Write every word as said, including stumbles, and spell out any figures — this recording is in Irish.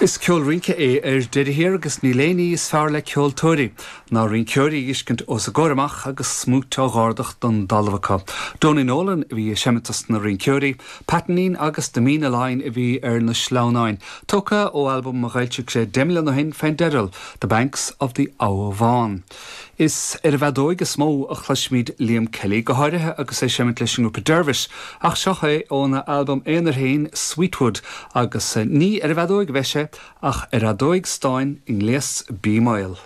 Is ceol rince é ar deireadh thiar agus níl aon ní is fearr le ceoltóirí ná rinceoirí a fheiscint os a gcomhair amach agus smúit á dh'ardach don dtalamh acu. Donie Nolan a bhí ag seimint dos na rinceoirí, Patainín agus The Míne Line a bhí ar na sleamhnáin, tógtha ó albam a d'fhoilsigh sé deich mbliana ó shin fén dteideal, The Banks of the Aughavane. Is ar an bhfeadóig is mó a chloisimid Liam Kelly go háirithe agus é ag seimint leis an ngrúpa Dervish, ach seo é óna albam aonair féin Sweetwood agus ní ar an bhfeadóig a bheidh sé ach ar fheadóig stáin i ngléas B maol.